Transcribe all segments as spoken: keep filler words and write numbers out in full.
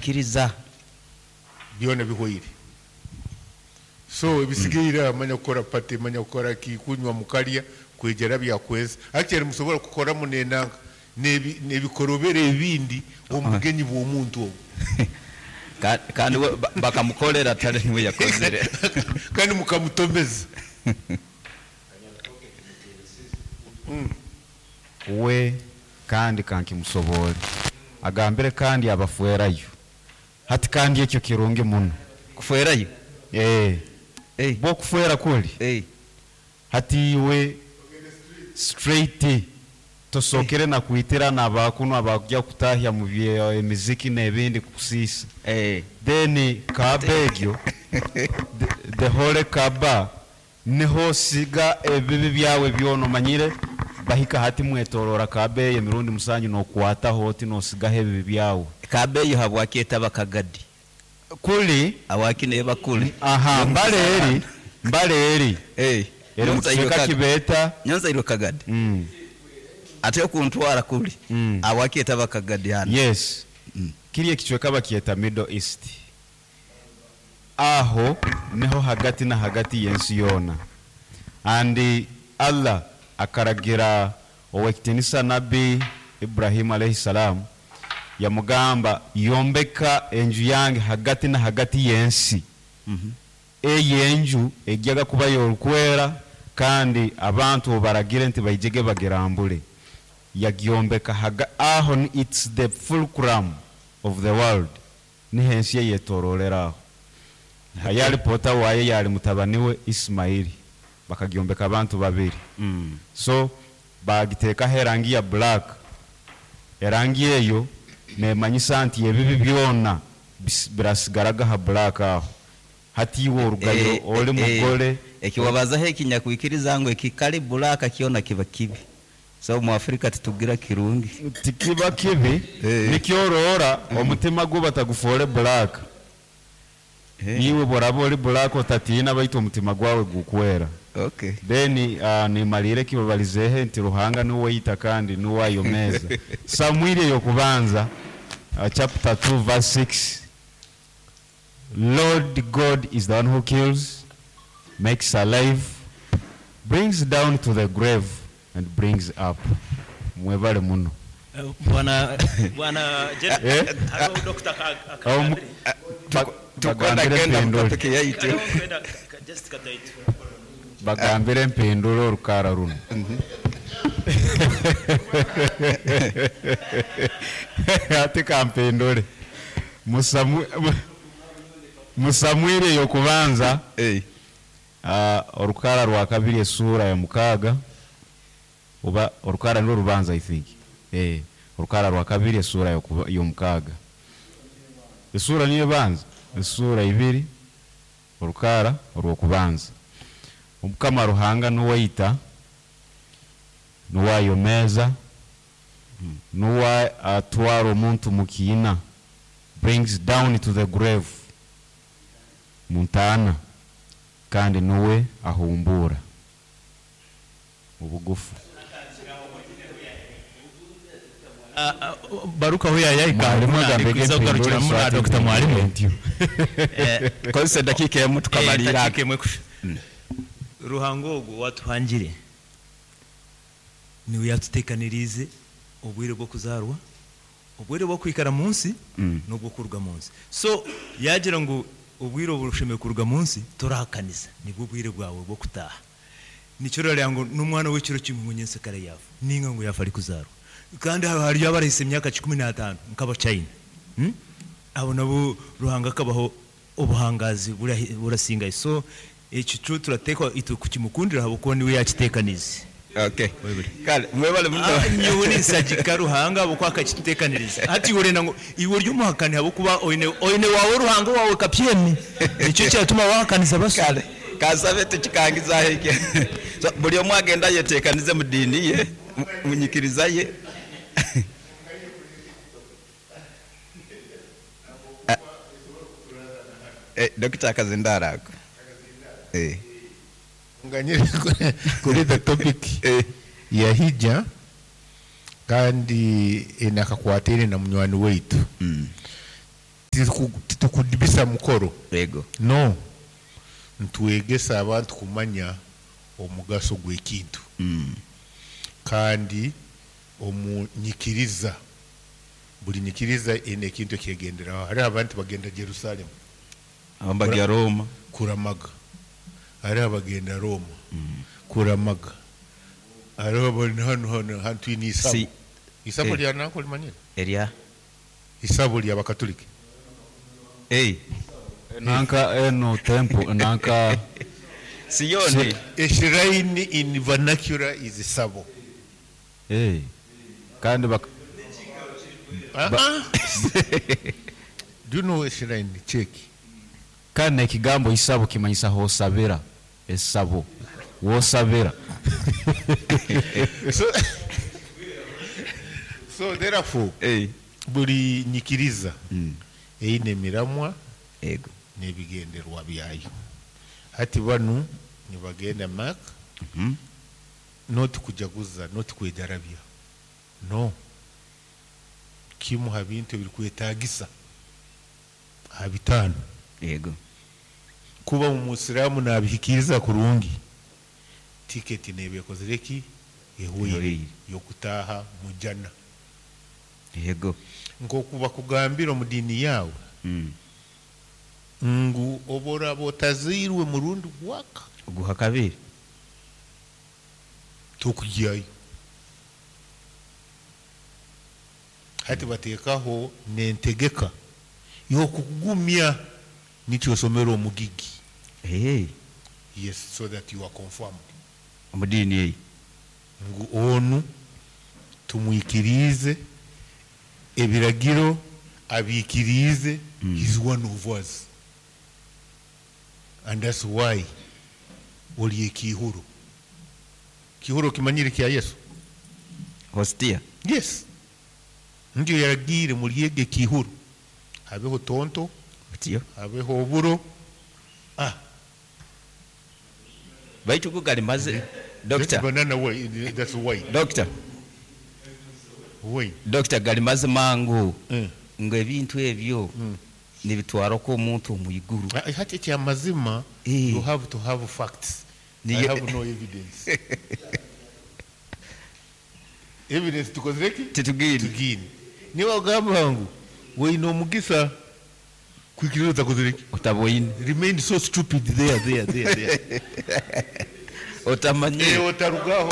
Kiriza. Byona bihweire. So ebisigaire aha manya kukora party, manya kukora ki, kunywa mukarya, kwegyera byakweza. Actually musobora kukoramu n'enanka n'ebi n'ebikorobero ebindi omu bugenyi bw'omuntu ogwo. Kandi we bakamukolera, atali niwe yakozere. Kandi mukamutomeza. We kandi kankimusoboore. Agambire kandi abafwerayo. Hati kandi ekyo kirungi muno. Kufwerayo? Ee. Eh. Bwo okufwera kuri. Eh. Hati iwe straight tosookere na kwitirana abakunu abakugya kutahya mu bye emiziki n'ebindi kukusiisa. Eh. Then Kaaba egyo, the, the holy Kaaba, niho osiga ebibi byawe byona. Omanyire bahika hati mwetoroora Kaaba eyo emirundi musanju, nokwataho oti nosigaho ebibi byawe. Kaaba eyo habwaki etaba Kagadi? Kuri. Habwaki neeba kuri? Aha, mbale eri, mbale eri. Eh. Eri mu kicweka kibeeta. Nyonzairwe Kagadi. Mm. Ate okuntwara kuri. Mm. Habwaki etaba Kagadi hanu? Yes. Kiri ekicweka bakyeta Middle East. Aho niho hagati na hagati y'ensi yoona. And Allah akaragira ow'ekitinisa Nabbi Ibrahim alayhi salam, yamugamba, "Yombeka enju yange hagati na hagati y'ensi." Eyo enju ejyaga kuba y'orukwera, kandi abantu obaragire nti baijege bagirambure. Yagyombeka haga, aho ni it's the fulcrum of the world. Niho ensi eyetororera aho. Ayali pota waye yali mutabani we Ismaili. Bakagyombeka abantu babiri. Mm. So bagiteekaho erangi ya black. Erangi eyo nemanyisa nti ebibi byona bis- birasigaraga ha black aho. Hati iwe orugayo Eh, oli eh, mugole. Ekiwabazaho ekinyakwikiriza ngu ekikali black kyona kiba kibi. So mu Afrika titugira kirungi. Tikiba kibi. Eh. Nikyoroora omutima gwo batagufoore black. Eh. Iwe bworaba oli black otatiina, baitu omutima gwawe gukwera. Okay. Then uh, nimalire ekibabalizeeho nti Ruhanga niwe oita kandi niwe ayomeeza. Samwiri ey'okubanza, uh, chapter two verse six. Lord God is the one who kills, makes alive, brings down to the grave and brings up. Mwebale muno. Eh, Bwana bwana General, Eh? hariho Doctor ka- ka- Aho mu- Kadri. ba- Tukwenda bagambire genda mpindure. mukatoke yaitu. Hariho kwenda ka- ka- just kataitu. Bagambire mpindure orukara runo. Ati kampindure. Musamu- mu- Musamwiri ey'okubanza, Eh. uh, orukara rwa kabiri esuura ya mukaaga, oba orukara nirwo rubanza, I think. Eh, orukara rwa kabiri esuura y'okuba- y'omukaaga. Esuura niyo ebanza, esuura ibiri, orukara orw'okubanza. Omukama Ruhanga niwe aita, niwe ayomeeza, niwe atwara omuntu mu kiina, brings down to the grave, mu ntaana, kandi niwe ahumbuura obugufu. Ah, ah, Baruka aho yayahika. Mwalimu agambege kuza kugarukiramu na mpindure. Doctor Mwalimu. Ntyo. Eh, Kozesa dakika emu tukamalira. Dakika emwe kusha. Ruhanga ogwo watuhangire niwe yatutekaniriize obwire bw'okuzarwa, obwire bw'okwikara mu nsi Mm. n'obw'okuruga mu nsi. So yagira ngu obwire obushemere kuruga mu nsi torahakaniza, nibwo bwire bwawe bw'okutaaha. Nikyo rarira ngu n'omwana w'ekiro kimwe ngu nyensekare yafa, ninga ngu yafa ari kuzarwa. Kandi hariyo abarahisa emyaka kikumi n'ataano nk'abachina. Hmm? Abo nabo Ruhanga akabaho obuhangazi burahi- burasingayo. So ekyo kyo turateekwa itwe kukimukundira ahabw'okuba niwe yakitekanize. Okay. Kale mwebale muno. Ah, nyowe ninsagika Ruhanga ahabw'okuba akakitutekaniriza. Hati iwe orenda ngu iwe ori omuhakani ahabw'okuba oine oine wawe Ruhanga wawe kapyemi. Nikyo kyatuma wahakaniza baso. Kale kasabe tukikangizaho ekyo. So buli omu agenda yetekanize mu diini ye, mu- mu nyikiriza ye. Ah. Eh, Dokita akazindara ako. Eh. Nganyire kuri the topic Eh. ya hija, kandi enakakwatire na munywani waitu. Mm. Tituku- Titukudibisa mukoro. Yego. No. Ntwegesa abantu kumanya omugaso gw'ekintu. Mm. Kandi omu nyikiriza buli nyikiriza ine ekintu ekyegenderaho. Hariho abantu bagenda Jerusalem Abambagya Roma. Kuramaga, hariho abagenda Roma kuramaga, hariho abali hano hano hantu ini isabo. Si. Isabo Eh. lya nanko limanyire? Erya. Isabo lya bakatoliki. Hey. Nanka eno temple nanka. Siyoni. A shrine in vernacular is isabo. Eh, kandi bak Ah, ah. Do you know a shrine? Check. Kandi ekigambo isabo kimanyisa hosabira, esabo wosabira. so, so therefore Hey. buli nyikiriza Mm. eine emiramwa Yego. n'ebigenderwa byayo. Hati banu nibagenda Mak Mhm. not kujaguza, not kwedarabya, no kimu ha bintu ebirikwetagisa ha bitaano. Yego. Kuba omusiraamu nabihikiriza kurungi, tiketi neeba ekozire ki? Ehweire. Ehweire. Yokutaaha mujana. Yego. Nkoku bakugambira omu diini yaawe Mm. ngu oboraba otazairwe murundi gwaka Guha kabiri. Tokugyayo. Hati bateekaho nentegeka yokukugumya nikyo osomera omugigi. Hey. Yes, so that you are confirmed Omu diini eyi. Ngu onu tumwikirize ebiragiro abiikirize. Mm. He's one of us, and that's why oli ekihuro. Kihuro kimanyire kya Yesu. Hostia. Yes, ndio yaragiire mulyege ekihuro, habeho tonto, Butiyo. habeho oburo, ah. Baitu go gali maze. That's Doctor. banana wine, that's wine. Doctor. Wine. Doctor, gali mazima ngu Mm. ngo ebintu ebyo Mm. nibitwarako omuntu omu iguru. Ah, hati ekyamazima, Eh. you have to have facts. Niyo- I have no evidence. Evidence tukozere ki? Titugine. Tugine. Niba ogamba ngu weine omugisa kwikiriza otakozere ki? Otaboine. Remain so stupid there, there, there, there. Otamanyire. Eh, otarugaho.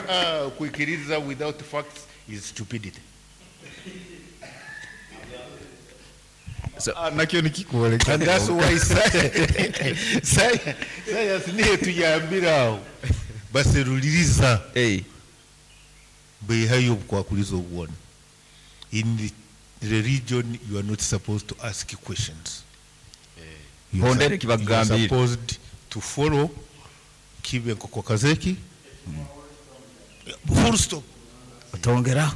Ah, kwikiriza without facts is stupidity. So, Ah, nakyo nikikwoleka. And that's why science, science niyo tuyambira aho baseruliriza, hey. beihayo obukwakuliza obwona. In the religion you are not supposed to ask questions. You are Hondere sup- you are kibagambire. supposed to follow kibe nkoko kazeki, full stop. Otongeraho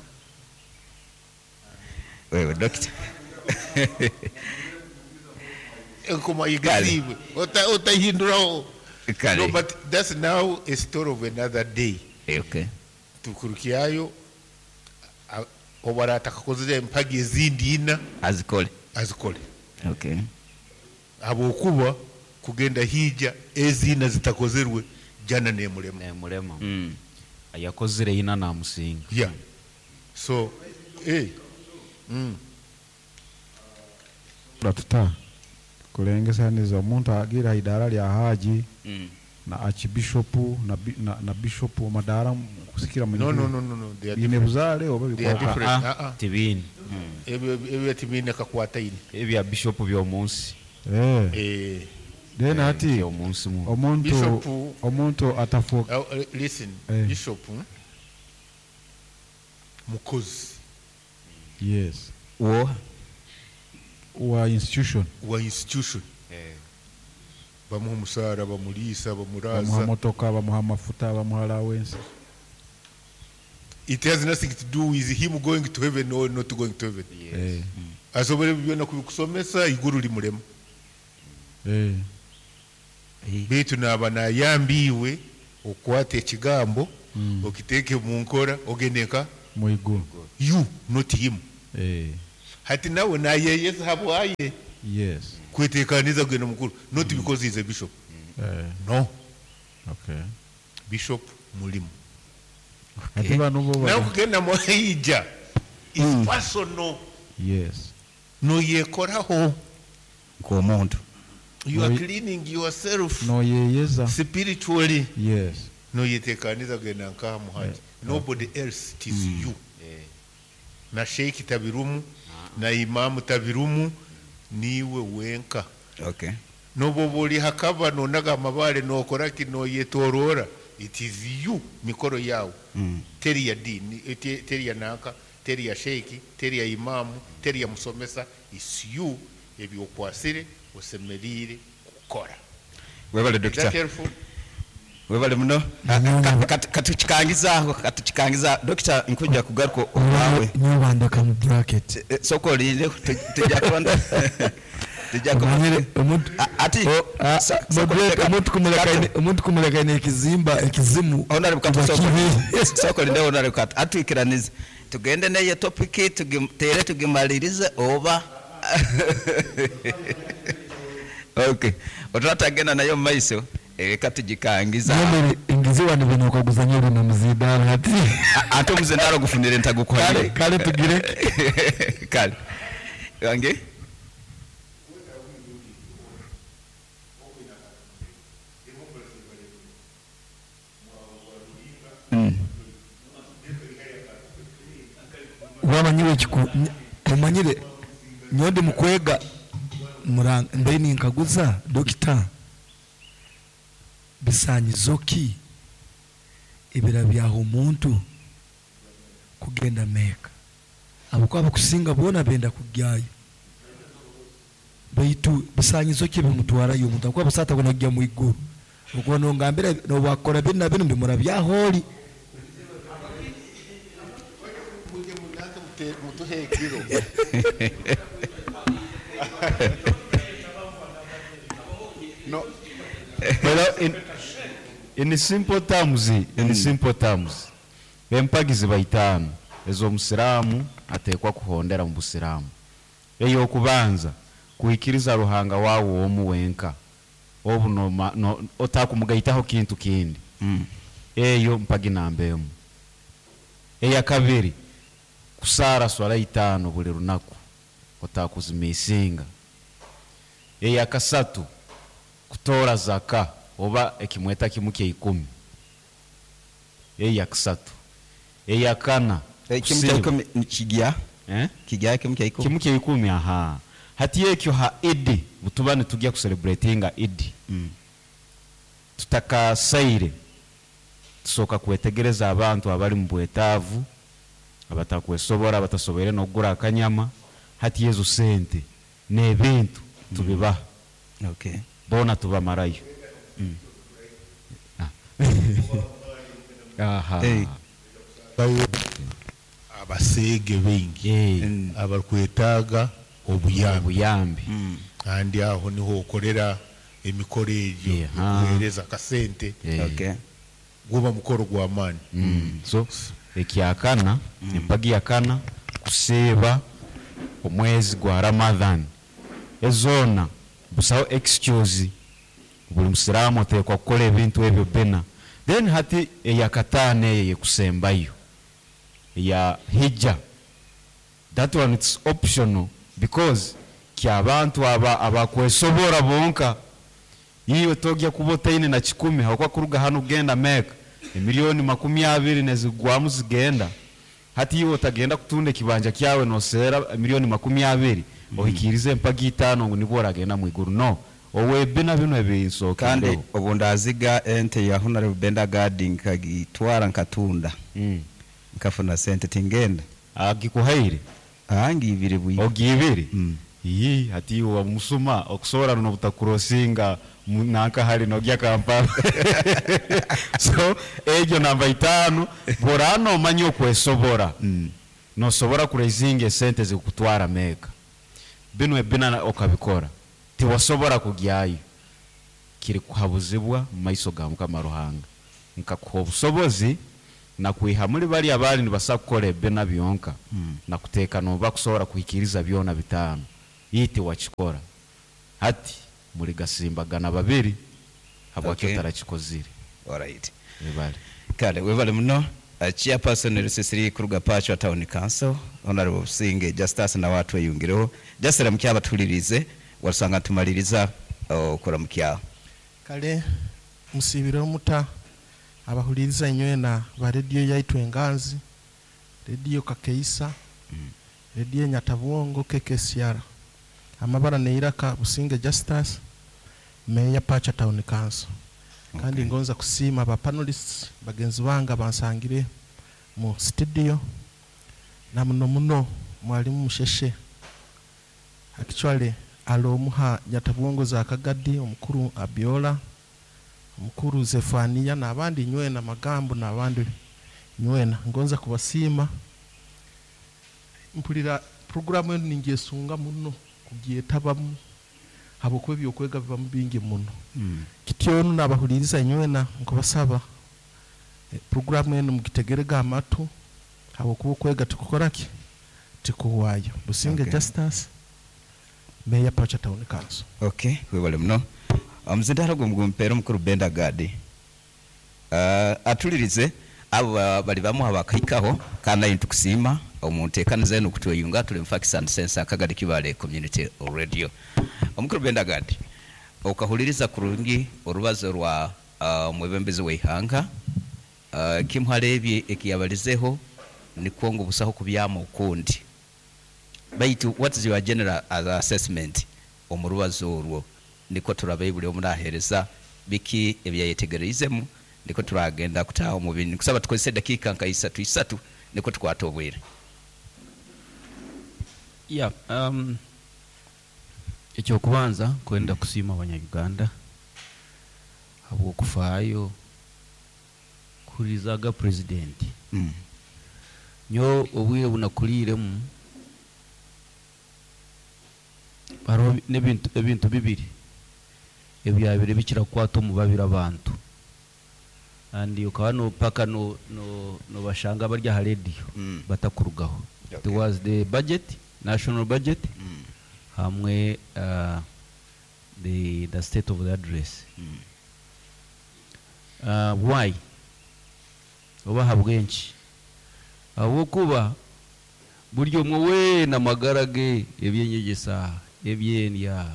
wewe, doctor. Enkoma igazibwe. Ota- otahinduraho. Kale. No, but that's now a story of another day. Eh, okay. Tukurukyayo obara atakakozere empagi ezindi ina azikole. Azikole. Okay. Habwokuba kugenda hija ezina zitakozerwe jana nemulema. Nemulema. Mm. Yakozire ina namusinga. Yeah, so hey. mm. Tuta kulengesaniza omuntu agira idara lya haji Mm. na archbishop na, bi- na, na bishop amadara kusikira no no no no no they are ine different. buzaale oba They are bikoka? different. Ah, Ah, ah. tibini. Ebyo ebyo tibine kakwata ine. Ebya bishop by'omunsi. Eh, Eh, then hati By'omunsi mu. omuntu Bishop- omuntu atafuuka. uh, uh, listen. Eh. Bishop, hmm? Mukozi. Yes. Wo. Wa institution. Wa institution. Bamuha omusaara, bamuliisa, Bamuha bamuraza. motoka, bamuha amafuta, bamuha allowance. It has nothing to do with him going to heaven or not going to heaven. Eh, asobora ebyo byona kubikusomesa, iguru limulema. eh, Beitu naaba nayambiwe okwata ekigambo, mm, okiteeke mu nkora, ogende nka mu iguru. You, not him. Eh, Hati nawe nayeyeza habwaye Yes. kwetekaniza kugenda mukuru, not because he's a bishop. Eh, No, okay. bishop mulimu. Ate bano bo Nawe bali- kugenda muhaija is personal. Yes. Noyekoraho. Nk'omuntu. You are Noi- cleaning yourself Noyeyeza. spiritually. Yes. Noyetekaniza kugenda nkaha muhaji. Nobody else, it is you. Na sheikh tabirumu, na imamu tabirumu, niwe wenka. Okay. Noboba oli hakaba nonaga amabale nokora ki noyetorora, it is you, mikoro yawe. Mm. Teri ya dini, eh, te- teri ya nanka, teri ya sheikh, teri ya imamu, teri ya musomesa, is you. Ebyokwasire osemerire kukora. Webale Is that dokita. helpful? Webale muno. Katukikangizaho, katukikangiza dokita, nkujja kugaruka obwawe. Nyobandeka mu bracket. Eh, sooka olinde, tu- tujja kuba tujja kuba Omanyire omuntu A- ati Ah, sa- sooka moderator, olinde- omuntu kumuleka Kato. ine- omuntu kumuleka ine ekizimba ekizimu Honorable Kato, kuba sooka- kibi. sooka olinde Honorable Kato, atwikiranize tugende neyo topiki tugitere tugimalirize oba okay otwatagenda nayo mumaiso, reka tugikangiza. Nyomere ingiziwa ni bino okaguzanya bino muzidala ati. A- ate omuzindalo gufunire Kale ntagukuhanire. kale tugireke. Kale wange. Mm. Wamanyire ekiku omanyire nyondi mukwega muranga mbe ninkaguza dokita, bisanyizo ki ebira byaho omuntu kugenda Meka? Abakuba bakusinga boona benda kugyayo, baitu bisanyizo ki bimutwarayo omuntu akuba busaata gona kujya mu iguru? Okuba nongambira nobwakora binu na binu ndimura byaholi. Muje munange mute- mutuhe ekiro. No. Well, in, in simple terms, in simple terms, empagizi baitaano ez'omusiraamu ateekwa kuhondera mu busiraamu. Ey'okubanza, kuhikiriza Ruhanga waawe omu wenka, obu noma- no- otakumugaitaho kintu kindi. Mm. Eyo mpagi namba emu. Eyakabiri, kusaara swala itaano buli lunaku, otakuzimisinga. Eyakasatu, kutoora zaka oba ekimweta kimu kya ikumi. Eyakasatu. Eyakana, Ekimu kusiiba. kya ikumi ni kigya Eh? kigya kimu kya ikumi. Kimu kya ikumi, aha. Hati ekyo ha Idi butuba nitujya kucelebratinga Idi, Mm. tutakasaire tusooka kwetegereza abantu abali mu bwetaavu, abatakwesobora, abatasoboire n'okugura akanyama. Hati ezo sente n'ebintu tubibaha. Okay. Boona tubamarayo. Ah. Aha. Hey. Abaseege baingi Eh, Mm. abarikwetaaga obuyambi. Obuyambi. Mm. Kandi aho niho okorera emikoro egyo, Yeah. okuheereza akasente. Eh. Okay. Guba mukoro gw'amaani. Mm. So ekyakana, empagi yakana, kusiiba omwezi gwa Ramadhan. Ezoona busaho excuse, buli musiraamu oteekwa kukola ebintu ebyo bina. Then hati eyakataano, eyo yekusembayo, eya hijja, that one it's optional because kyabantu aba abakwesobora bonka. Iwe togya kuba otaine na kikumi hakuba kuruga hano kugenda Meka emiliyoni makumi abiri nezigwamu zigenda. Hati iwe otagenda kutunda ekibanja kyawe noseera emiliyoni makumi abiri, ohikirize empagi itaano ngu nibwo oragenda mwiguru? No, owebina bino Kandi ebinsokereho. obu ndaziga ente ya Honorable Benda Gadi nkagitwara nkatunda, mm. nkafuna sente, tingenda. Agikuhaire? Angi ibiri bwi. Ogibiri? Mm. Iyi hati iwe wamusuma okusobora runo butakurosinga mu- nanka hali nogya Kampala. So egyo namba itaano, bworana omanye okwesobora, Mm. nosobora kurezinga esente zikutwara Meka, bino ebina na- okabikora, tiwasobora kugyayo, kiri kuhabuzibwa mu maiso ga Mukama Ruhanga. Nkakuha obusobozi Nakwiha muri bariya bari nibasa kukora ebina byonka, nakuteeka noba kusobola kuhikiriza byona bitaano, iti wakikora. Hati muri gasimbagana babiri habwaki Okay. otarakikozire. Alright. Webale. Kale webale muno. Uh, chairperson Rusisiri kuruga Pachwa Town Council, Honorable Businge Justus nawe atweyungireho. Just ramukya abatulirize wasanga tumaliriza okuramukya. Kale musibire omuta abahuliriza inywena ba rediyo yaitu Enganzi, rediyo Kakeisa, rediyo Nyatabwongo, K K C R. Amabara neiraka Businge Justus, Meya Pacha Town Council. Kandi Okay. ngonza kusiima aba panelists bagenzi bange bansangire mu studio, na muno muno mwalimu Musheshe. Actually alomuha Nyatabwongo za Kagadi, omukuru Abiola, omukuru Zefania n'abandi nywena magambo n'abandi nywena, ngonza kubasiima. Mpulira programu eno ningyesunga muno kugyetabamu habwokuba ebyokwega bibamu bingi muno. Kityo nabahuliriza nywena nkubasaba, eh, programu eno mugitegerega amatu habwokuba okwega tikukora ki tikuwaayo. Businge Okay. Justus, Meya Pacha Town Council. Okay, webale muno. Omuzindalo gwe mugumpeera omukuru Benda Gadi. Uh, atulirize abo ba- bali bamu abakahikaho kandi ayi tukusiima omunteekaniza eno kutweyunga. Tuli mu Facts and Sense, Akagadi Kibale Community Radio. Omukuru Benda Gadi, okahuliriza kurungi orubazo rwa uh, omwebembezi w'eihanga. uh, kimuharebye ekiyabalizeho nikwo ngu busaho kubyama ukundi, baitu what is your general assessment omu rubazo orwo? Niko turabe buli omu naheereza biki ebyayetegereizemu, niko turagenda kutaha omu bindi. Nkusaba tukozese dakiika nka isatu isatu niko tukwata obwire. Yeah, um, ekyokubanza kwenda kusiima Abanyayuganda habwokufaayo kuhurizaga purezidenti. mm. Nyo obwire bunakuliiremu hariho n'ebintu ebintu bibiri ebyabire bikira kukwata omu babiri abantu, and ukaba no paka no no nobashanga bari aha radio Mm. batakurugaho. Okay. It was the budget, national budget, Mm. hamwe uh, the, the state of the address. Mm. uh, why oba habwenki? Habwokuba buri omwe weena amagara ge, ebyenyegesa, ebyendya,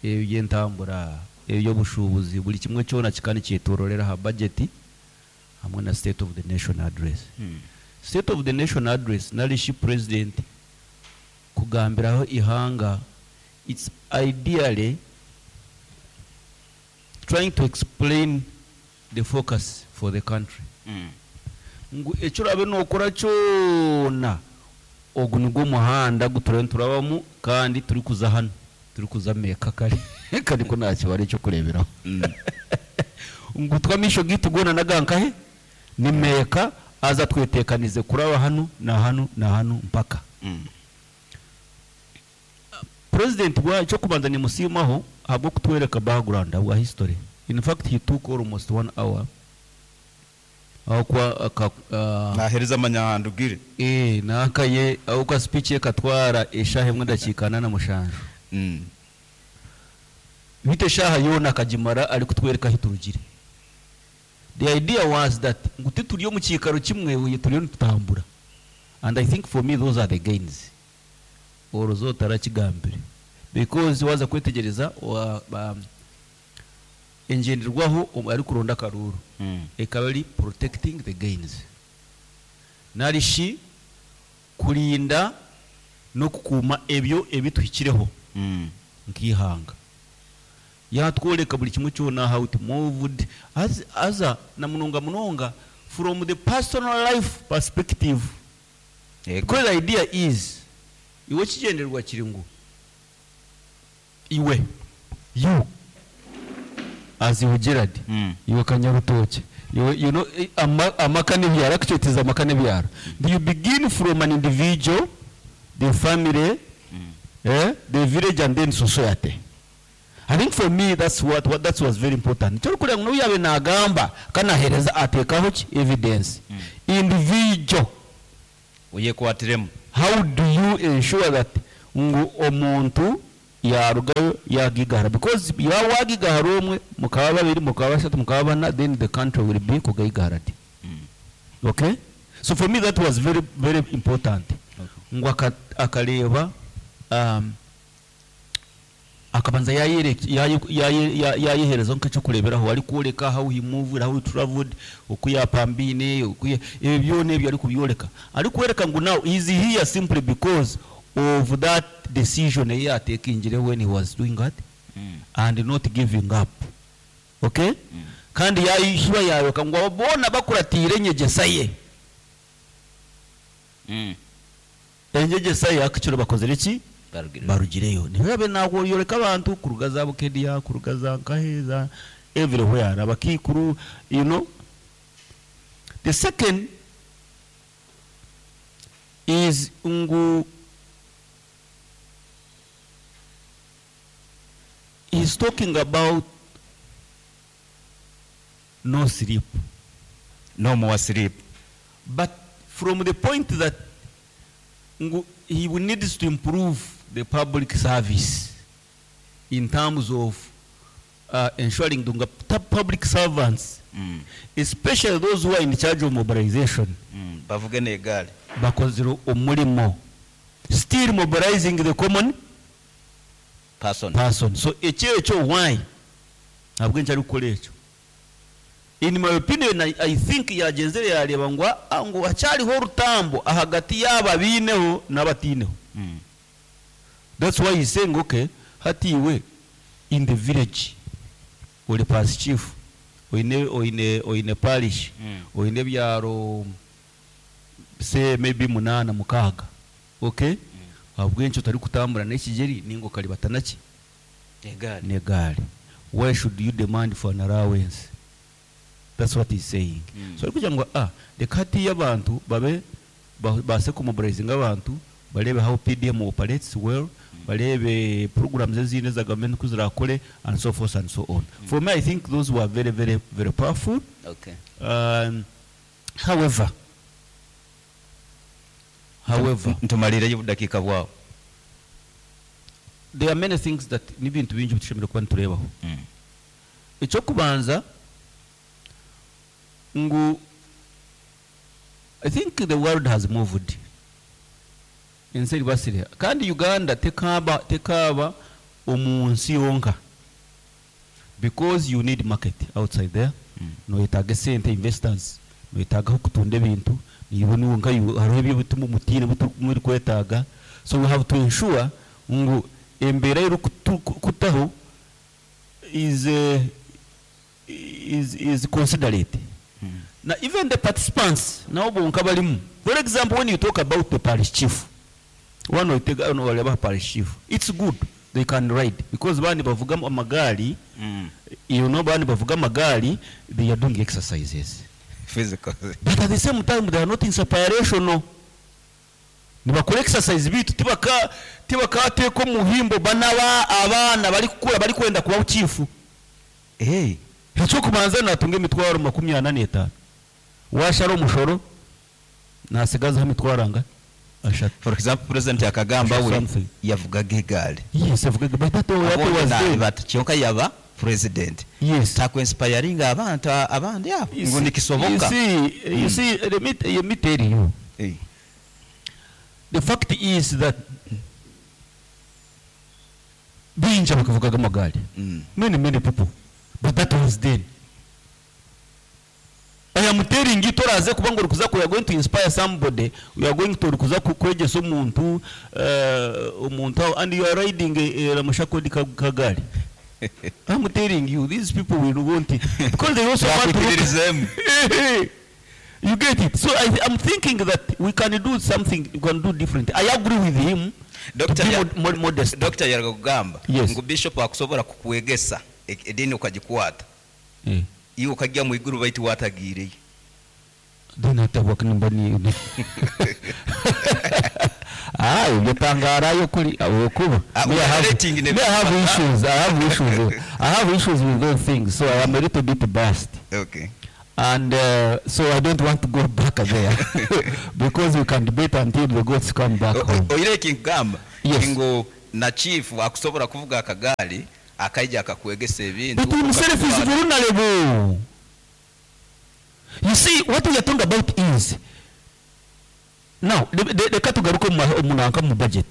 ebyentambura, ebyobushubuzi, buri kimwe kyona kikaba nikyetororera aha budget hamwe na state of the nation address. Mm. State of the nation address narishi president kugambiraho ihanga, it's ideally trying to explain the focus for the country, Mm. ngu ekyo orabe nokora kyona, ogu nigwo muhanda guturiyo niturabamu kandi turi kuza hano, turi kuza Meeka. Kare kare ko nta kibara ekyokureeberaho Mm. ngu twamisho gitu gona nagankahe ni Meeka, aza twetekanize kuraba hano na hano na hano mpaka. Mm. President wa icyo kubanza nimusimaho habwo kutwereka background bwa history. In fact, he took almost one hour aho kwa aka, uh, Nahereza amanyahandugire. eh nakaye aho kwa speech ye katwara eshaha emwe dakiika ana na mushanju. Mm. Bite shaha yona akagimara ari kutwereka aho turugire. The idea was that ngu tituri omu kiikaro kimwe, uye turiyo nitutambura, and I think for me those are the gains orozo tarakigambire, because waza kwetegereza wa- ba- engenderwaho omu- ari kuronda akaruru Mm. ekaba ari protecting the gains, narishi kurinda no kukuuma ebyo ebituhikireho Mm. nk'ihanga. Yatworeka buri kimwe kyona, how it moved as, aza na munonga munonga from the personal life perspective. Yego. Because the idea is, iwe kigendererwa kiri ngu iwe, you as iwe Gerard, Mm. iwe Kanyarutoki, iwe, you know, eh, ama, amaka n'ebyaro, actually it is amaka n'ebyaro. You begin from an individual, the family, Mm. eh, the village and then society. I think for me that's what, what that was very important. Kyo kugira ngo yabe nagamba kanahereza atekaho ki evidence. Mm. Individual. Uyekwatiremu. How do you ensure that ngu omuntu yarugayo yagigahara? Because yaba wagigahara omwe, mukaba babiri, mukaba bashatu, mukaba bana, then the country will be kugigahara ti. Okay? So for me that was very, very important. Ngu aka- akareba, um, akabanza yayereka- yaye- yaye- ya- yayehereza nk'ekyokureberaho, ari kworeka how he moved, how he traveled, oku yapambiine, oku ya- ebyo byona ebyo ari kubyoreka, ari kwereka ngu now he is here simply because of that decision eyi yatekingire when he was doing that and not giving up. Okay? Kandi yayishiba yayoka ngu abo boona bakuratiire enyegyesa ye. Enyegyesa ye akikiro bakozere ki? Barugireyo. Barugireyo. Nibabe nayoreka abantu kuruga za Bukedia, kuruga za Nkaheza, everywhere, abakikuru, you know. The second is ngu he's talking about no sleep. No more sleep. But from the point that ngu he needs to improve the public service in terms of, uh, ensuring the public servants, Mm. especially those who are in charge of mobilization, Mm. Bavuge n'egaari. bakozire omurimo, still mobilizing the common person. person. So ekyo ekyo why ntabwo nkyari kukora ekyo. In my opinion, I, I think yagenzere yareba ngo, ah, ngo hacyariho orutambo ahagati y'aba biineho n'abatiineho. Mm. That's why he's saying, okay, hatiwe in the village ori parish chief, oine, oine, oine parish, Mm. oine ebyaro say maybe munana mukaaga, okay? Mm. Ahabw'enki otari kutambura n'ekigeri ninga okaribata naki? Negaali. Negaali. Why should you demand for an allowance? That's what he's saying. Mm. So ari kugira ngo, ah, reka hatiyo abantu babe ba-, base kumobilizinga abantu, barebe how P D M operates well, barebe programs ezindi za government uko zirakore, and so forth and so on. Mm. For me, I think those were very, very, very powerful. Okay. Um, however, however, Ntumalire dakika bwao. There are many things that n'ibintu bingi bitushemera kuba niturebaho. Mm. Ekyokubanza ngu I think the world has moved. Ensi eribasire. Kandi Uganda tekaba, tekaba omu nsi yonka. Because you need market outside there. Mm. Noyetaaga sente investors, noyetaaga aho kutunda ebintu, niiwe niwe nka hariho ebyo bituma omutiine muri kwetaaga. So we have to ensure ngu embeera erikutaho is, uh, is, is considerate. Mm. Now even the participants nabo bonka barimu. For example, when you talk about the parish chief, one will take on whatever parish chief, it's good they can ride because bani bavuga amagari, Mm. you know, bani bavuga amagari, they are doing exercises physical, but at the same time they are not inspirational. Nibakora exercise bitu tibaka tibakateko muhimbo banaba abana bari kukura bari kwenda kuba chief. Hey, icyo kubanza natunga imitwaro makumyabiri na n'etanu, washara omushoro nasigazaho imitwaro anga ashatu. For example, President akagamba we Something. yavugaga egari. Yes, yavugaga, but that was, that was Abandi then. bati kyonka yaba president. Yes. Takwinspiringa abantu abandi abo You ngo see, nikisoboka. You see, you see, let me, let me tell you. Hey. The fact is that binja bakavugaga amagare. Mm. Many, many people. But that was then. I am telling you, toraze kuba ngo rukuza ku, you are going to inspire somebody, you are going to rukuza ku kwegesa omuntu, uh, omuntu, and you are riding a, a Ramushakodi kagari. I'm telling you, these people will want it. Because they also want to look. Bakwikiririzemu. You get it? So I, I'm thinking that we can do something, we can do different. I agree with him. Doctor To be ya- mod-, mod-, modest. Doctor yaragamba Yes. ngu bishop akusobora kukwegesa e-, edini ukagikwata. Eh. Iwe ukajya mu iguru baitu watagireyo. Then atabwa nimba ni Ah, ibyo tangarayo kuri abo kuba. Ah, Me, I have, rating ne- me, I have issues. I have issues. I have issues with those things. So I am a little bit biased. Okay. And uh, so I don't want to go back there because we can debate until the goats come back home. Oire ekinkugamba Yes. ngu na chief akusobola kuvuga akagaali akaija akakwegesa ebintu. But himself is vulnerable. You see, what we are talking about is now reka tugaruke mu ma- mu nanka mu budget.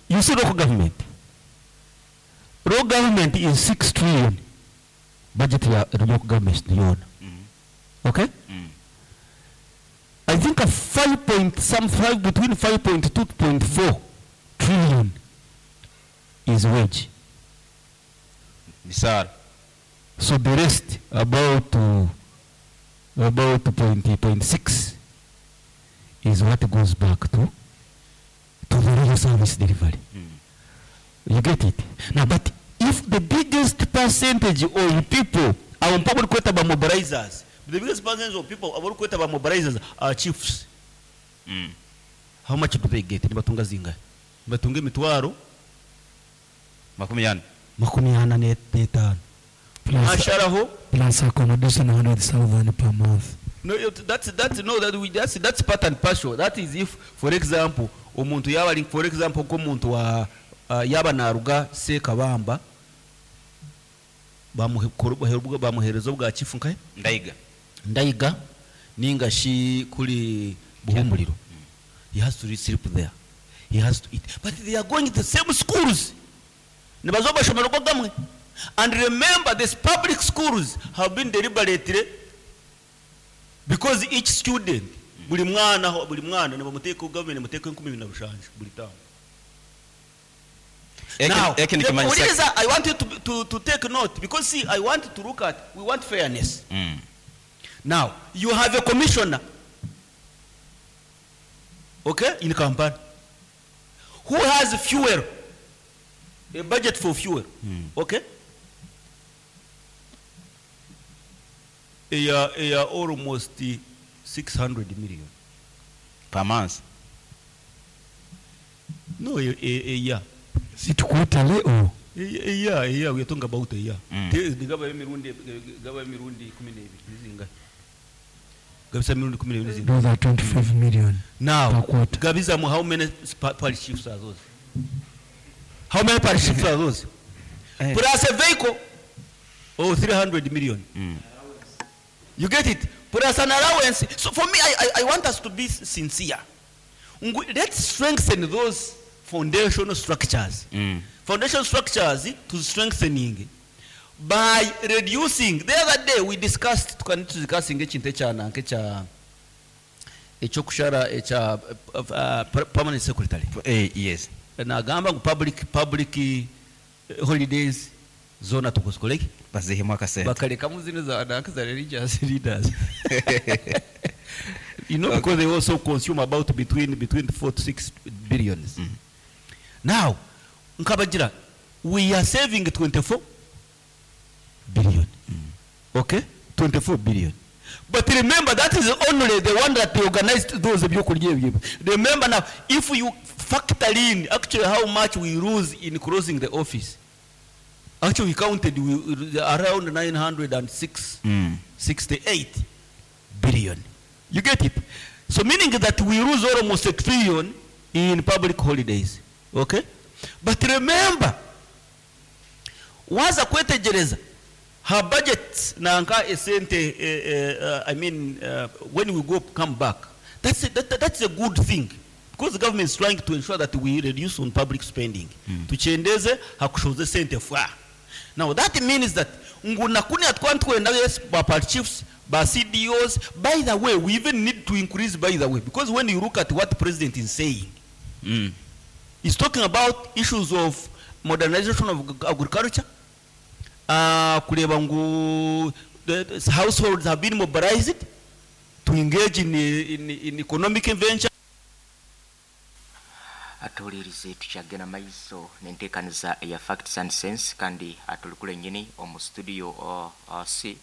You see, local government. Local government is six trillion. Budget ya local government yona. Okay? Mm. I think a five point some five between five point two point four trillion is wage. Misaala. So the rest about uh, about point point six is what goes back to to the real service delivery. You get it? Now, but if the biggest percentage of people are probably kweta ba mobilizers, the biggest percentage of people abari kweta ba mobilizers are chiefs. Mm. How much do they get? Nibatunga zingahe? Nibatunga emitwaro Makumi ana. makumi ana n'etaano. Plus, Asharaho plus accommodation hundred thousand per month. No, it- that's that's no that we that's that's part and partial. That is if, for example, omuntu yaba ali for example nk'omuntu wa uh, yaba naruga Sekabamba bamuhe- bamuhereza obwa chifu nkahe Ndaiga. Ndaiga ninga shi kuri Buhumuriro. He has to sleep there. He has to eat. But they are going to the same schools. Nibazo bashomero gamwe. And remember, these public schools have been deliberately because each student buli mwana buli mwana nibamuteeka government muteeka enkumi ibiri na rushanju buli tamu. Eki- Now, eki nikimanyisa- Uliriza, I want you to, to, to take note because see, I want to look at, we want fairness. Mm. Now, you have a commissioner, okay, in Kampala, who has fuel, a budget for fuel, okay? A, a, almost six hundred million. Per month. No, a, a, a year. Is it quarterly or? A, a year, a year, we are talking about a year. Mm. Te- gaba emirundi gaba emirundi kumi n'ebiri nizingahe? Gabisa emirundi kumi n'ebiri nizingahe? Those are twenty-five million. Now, Per quarter. Gabizamu, how many spa- parish chiefs are those? How many parish chiefs are those? Eh. Plus a vehicle, oh, three hundred million. Mm. You get it? Plus an allowance. So for me, I, I, I want us to be sincere. Ngu- Let's strengthen those foundational structures. Mm. Foundation structures to strengthening by reducing. The other day we discussed, tukani discussing ekintu ekya ekya ekyokushara ekya uh, uh, permanent secretary. Eh, yes. Nagamba ngu public public eh, holidays zona tukuzikoleki Bazihemu akasente. bakalekamu zino za nanka za religious leaders. You know, because they also consume about between between four to six billions. Mm. Now, nkabagira, we are saving twenty-four billion. Okay? twenty-four billion. But remember, that is only the one that they organized those ebyokurya ebyo. Remember now, if you factor in actually how much we lose in closing the office, actually we counted we, around nine hundred and six, Mm. sixty-eight billion. You get it? So meaning that we lose almost a trillion in public holidays. Okay? But remember, waza kwetegereza her budget nanka esente, eh, eh, I mean, uh, when we go come back, that's a, that, that's a good thing because the government is trying to ensure that we reduce on public spending. Mm. Tuchendeze hakushoze sente fwa. Now that means that nguna kuni atwantwenda yes ba party chiefs ba C D Os. By the way, we even need to increase, by the way, because when you look at what the president is saying, Mm. he's talking about issues of modernization of ag-, agriculture. Uh, kureba ngu the, the households have been mobilized to engage in, in, in economic venture. Atuulirize tukyagenda maiso n'enteekaniza eya Facts and Sense kandi atulikula ennyini omu studio, uh, uh, C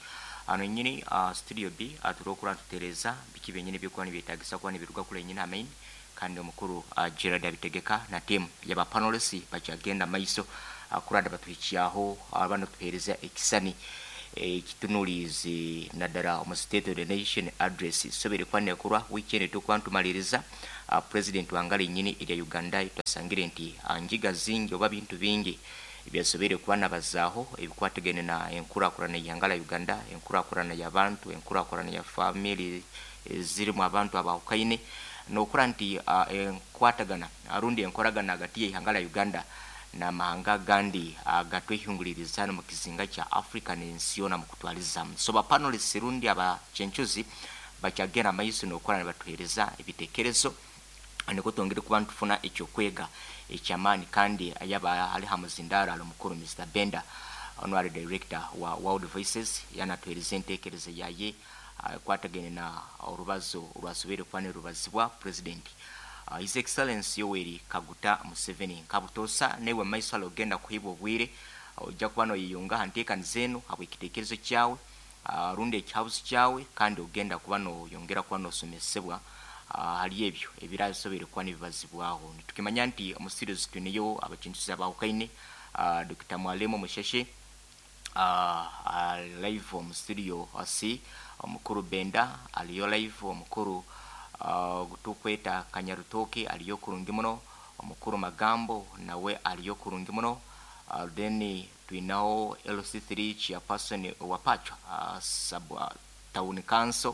ano ennyini, uh, studio B atuli okula ntutereeza biki byennyini byekuba nibyetaagisa kuba nibiruga kula ennyini amain kandi omukulu, uh, Gerald Abitegeka na team yaba panelists bakyagenda maiso. Kuranda batuhikyaho abana tuhereza ekisani ekitunulizi naddala omu State of the Nation Address sobere kwanekurwa weekend tukwantumaliriza. uh, president wangala nyini erya Uganda twasangire nti njiga zingi oba bintu bingi ebyasobere kuba nabazaaho ebikwatagene na enkurakurana y'ihanga Uganda, enkurakurana y'abantu, enkurakurana ya family zirimu abantu abahukaine, nokura nti uh, enkwatagana arundi enkoragana hagati y'ihanga la Uganda n'amahanga gandi agatwehinguliriza mu kizinga kya Africa n'ensi yona mu kutwaliza. So ba panelists rundi abachenchuzi bakyagenda amaiso n'okora ne batuhereza ebitekerezo niko twongere kuba ntufuna ekyokwega ekyamaani. Kandi ayaba ali hamuzindara ali mukuru Mister Benda, honorary director wa World Voices, yanatuhereza entekereza yaye kwatagene na orubazo rwasobere kuba nerubazibwa president uh, His Excellency Yoweri Kaguta Museveni. Nkabutosa newe maiso alogenda kuhibwa obwire ojja kuba noyiyunga hanteekani zenu habw'ekiteekerezo kyawe uh, rundi ekihabuzi kyawe, kandi ogenda kuba noyongera kuba nosomesebwa uh, hali ebyo ebirasobere kuba nibibazibwaho. Nitukimanya nti omu studios twiniyo abakintuzi abahukaine, uh, Doctor Mwalimu Musheshe uh, uh, live omu studio C, omukuru Benda aliyo live, omukuru uh, tukweta Kanyarutoke aliyo kurungi muno, omukuru Magambo nawe aliyo kurungi muno, uh, then twinaho L C three chairperson wa Pachwa uh, sub uh, town council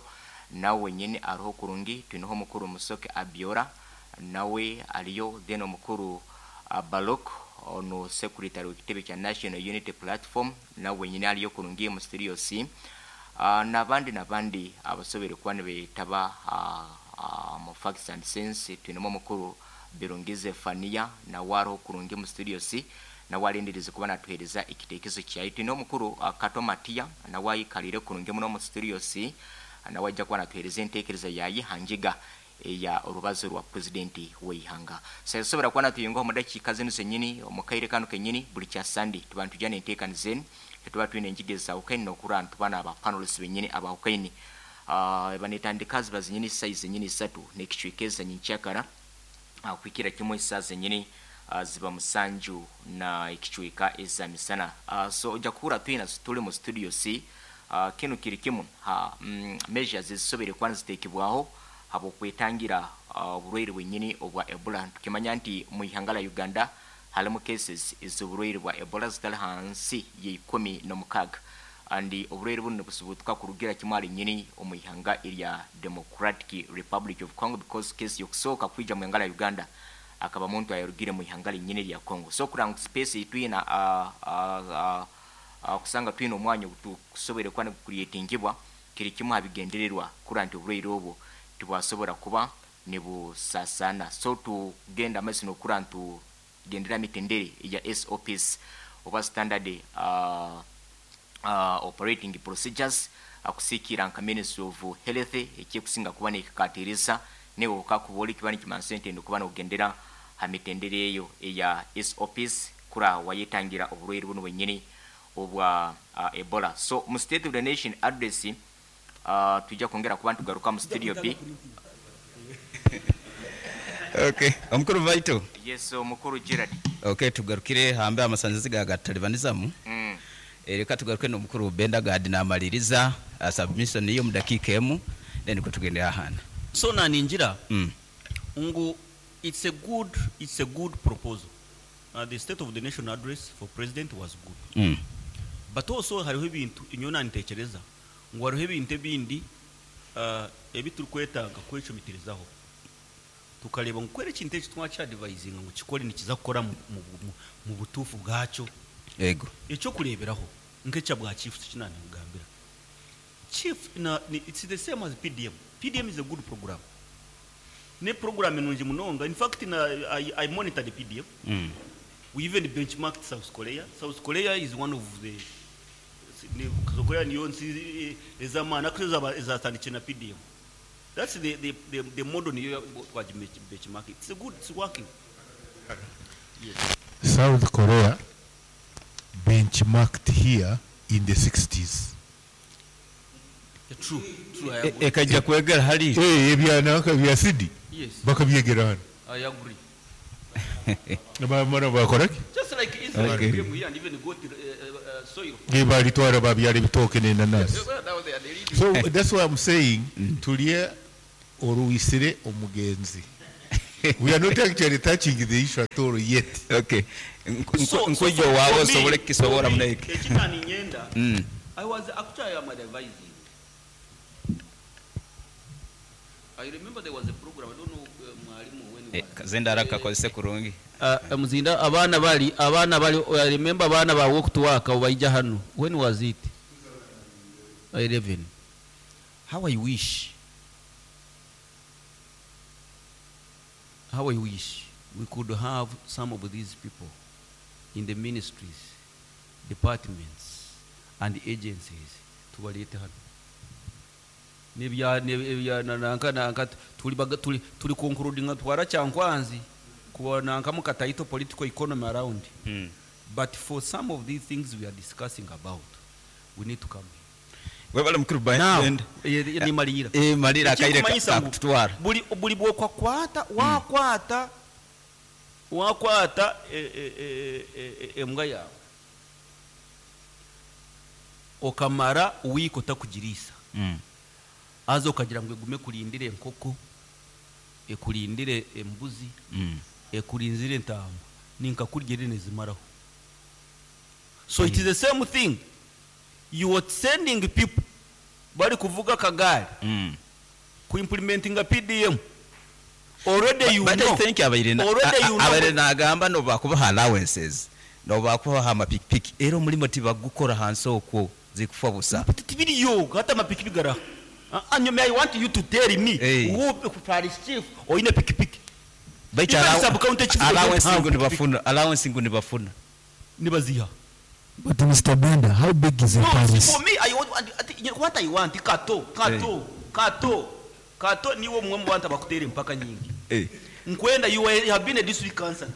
nawe nyene ariho kurungi, twinaho omukuru Musoke Abiora nawe aliyo, then omukuru uh, Balok ono secretary w'ekitebe kya National Unity Platform nawe nyene aliyo kurungi mu studio C, uh, nabandi nabandi abasobere kuba nibetaba uh, uh, mu Facts and Sense. Twinemo omukuru Birungize Fania nawe ariho kurungi mu studio C, nawe alindirize kuba natuhereza ekitekerezo kyaye. Twine omukuru uh, Kato Matia nawe ayikalire kurungi muno mu studio C, nawe ajja kuba natuhereza entekereza yaye hanjiga ya orubazo rwa president w'eihanga. Sasobora kuba natuyungaho mu dakiika zinu zenyini omu kaire kano kenyini buli kya Sunday tuba ntujana enteekani zenu, tuba twine enjiga ezawukaine n'okura ntuba n'aba panelists benyini abawukaine uh, banetandika ziba zenyini size zenyini isatu n'ekicweka nyenkyakara uh, kuhikira kimwe isaa zenyini uh, ziba musanju na ekicweka eza misana. uh, so ojja kuhura twina tuli mu studio C. uh, kinu kiri kimu ha mm, measures zisobere kuba niziteekebwaho habwokwetangira oburwaire uh, bwenyini obwa Ebola. Tukimanya nti mu ihanga la Uganda halimu cases ez'oburwaire bwa Ebola zitali hansi y'ikumi n'omukaaga, and oburwaire buno busubutuka kurugira kimwe ali nyini omu ihanga erya Democratic Republic of Congo, because case yokusooka kwija mu ihanga la Uganda akaba muntu ayarugire mu ihanga linyini erya Congo. So kuranga space twina uh, uh, uh, uh, kusanga twina omwanya ogutusobere kuba nigucreatingibwa kiri kimwe habigendererwa kura nti oburwaire obwo tibwasobora kuba nibusasana. So tugenda amaiso n'okura ntugendera mitendere ya S O Ps oba standard uh, uh, operating procedures akusikira nka Ministry of Health ekikusinga kuba nekikatirisa newe okakuba kiba nikimansa nti kuba nokugendera ha mitendere eyo eya S O Ps kura wayetangira oburwaire buno bwenyini obwa uh, Ebola. So mu State of the Nation Address uh, tujja kwongera kuba ntugaruka mu studio B. Okay, omukuru Vaito. Yes, omukuru Gerard. Okay, tugarukire hambe amasanzizi ga gatalibanizamu. Mm. Ereka tugaruke n'omukuru Benda Gad namaliriza uh, submission iyo mu dakika emu then ko tugende ahana. So naninjira mm. ngu it's a good it's a good proposal. Uh, the State of the Nation Address for president was good. Mm. But also hariho ebintu inyona ntekereza ngu hariho ebintu ebindi uh, ebiturikwetaaga kwecumitirizaho tukareba ngu kwera ekintu eki twakyadivayizinga ngu kikore nikiza kukora mu, mu, mu, mu butuufu bwakyo. Ego. Ekyokureeberaho nk'ekya bwa chief kinanigambira chief na, ni, it's the same as P D M. P D M is a good program. Ne program enungi munonga. In fact na, I, I monitor the P D M. Mm. We even benchmarked South Korea. South Korea is one of the South Korea niyo nsi ezamana actually ezatandikire na P D M. That's the the the, the model niyo twaji benchmark. It's a good, it's working. Yes. South Korea benchmarked here in the sixties. Yeah, true, true, I agree. Ekajja kwegera hali. Eh, ebyanaka bya sidi. Yes. Bakabyegera hano. I agree. Bamara bakora ki? Just like Israel Okay. came here and even got uh, uh, soil. Balitwara babyala ebitooke n'enanasi. Well, now they are the leading. So that's why I'm saying tulye oruwisire omugenzi. We are not actually touching the issue at all yet. Okay. So- so Nkwijo for- wawe for me- osobole kukisobola for me, muneke. ekitani nyenda Mm. I was actually I'm advising. I remember there was a program, I don't know uh, mwalimu when Eh, kazindaro kakozese kurungi. Uh, muzinda abaana bali abaana bali I remember abaana ba walk to work baija hano. When was it? eleven. How I wish, how I wish we could have some of these people in the ministries, departments and agencies tubaleete hano. Nebya nebya nanka nanka tuli baga- tuli tuli concluding twara Kyankwanzi kuba nanka mukataito political economy around. Mm. But for some of these things we are discussing about, we need to come here. Webale mukuru Now, Bend. eh, eh, nimalira. Eh, malira akaire Ekikumanyisa ngu kakutwara. buli buli bwokwakwata wakwata wakwata eh, eh, eh, eh, embwa yawe okamara wiiki otakugiriisa Mm. aza okagira ngu egume ekurindire enkoko, ekurindire embuzi, Mm. ekurinzire entaama, ninkakurya eri nezimaraho. So it is the same thing, you are sending people bari kuvuga akagari Mm. kuimplementinga P D M. Already you But know. I think abaire na- Already a- you a- know. abaire nagamba nobakubaha allowances, nobakubaha amapikipiki, era omulimo tibagukora hansi okwo zikufa busa. Tibiriyo hata amapikipiki garaha. Ah, ah, nyuma I want you to tell me Hey. who parish chief oine pikipiki. Baitu Even allow- sub-county chief allowance don't have ngu nibafuna, allowance ngu nibafuna. Nibaziha. But Mister Benda, how big is the No, parish? for me I want, I think, what I want kato kato kato kato niwo mwe mu bantu abakuteera empaka nyingi. Eh. Nkwenda you are, you have been a district councillor.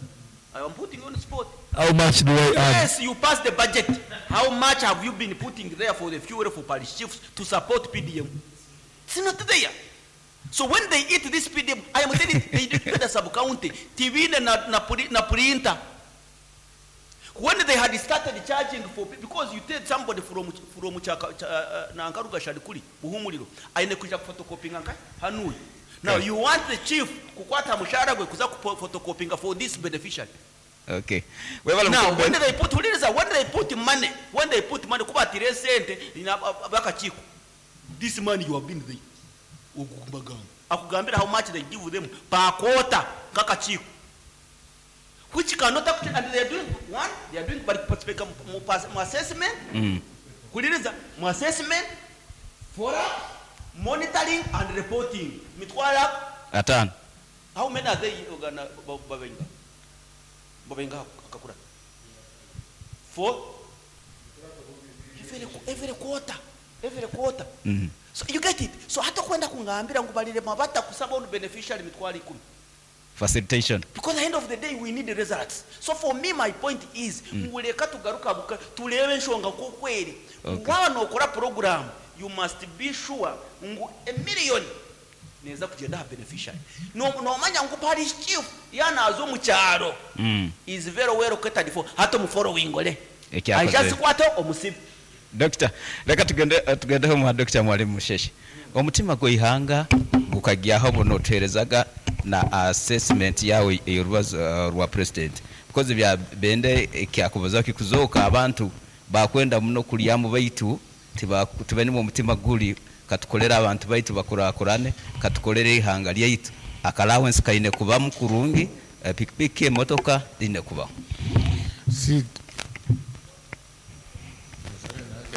I am putting you on the spot. How much do I earn? Yes, you passed the budget. How much have you been putting there for the fuel for parish chiefs to support P D M? It's not there. So when they eat this P D M, I am telling you, they did the sub-county, Tibine na, na, na printer. When they had started charging for, because you take somebody from, from Chaka, Cha, uh, Nankaruga Shadikuli, Buhumuliro, aine kuja photocopying nka Hanui. Now Okay. you want the chief kukwata mushahara gwe kuza photocopying for this beneficiary. Okay. Webale Now, mukuru when Ben. they put, when they put money, when they put money, kuba tire sente, ina bakachiko. This money you have been there. Ogugambagamba. Akugambira how much they give them per quarter kakachiko. Which cannot actually, and they are doing one, they are doing participate mu assessment, Mm. kuliriza mu assessment, follow up, monitoring and reporting. Mitwala Atano. How many are they ogana babenga? Babenga akakura. Four. Every, every quarter, every quarter. Mm. So you get it. So hata kwenda kungambira ngubalire mabata kusaba on beneficiary mitwala ikumi. Facilitation. Because at the end of the day we need the results. So for me my point is Mm. nguleka tugaruka buka tulebe nshonga kukweri. Okay. Waba nokora program you must be sure ngu a million neza kugenda ha beneficiary. No no manya ngu parish chief yanazo mu kyaro. Mm. Is very well catered for. Hato mu following ole. Ekyakoze. I just kwata omusibe. Doctor, leka tugende tugendeho mu Doctor Mwalimu Musheshe. Omutima gw'ihanga gukagyaho buno tuherezaga na assessment yawe ey'orubazo uh, rwa president. Because bya bende ekyakubaza kikuzoka abantu bakwenda muno kulyamu baitu tibeni mu mutima guli katukolera abantu baitu bakurakurane katukolere ihanga lyaitu. Allowance kaine kuba mukurungi, pikipiki emotoka ine kuba. Si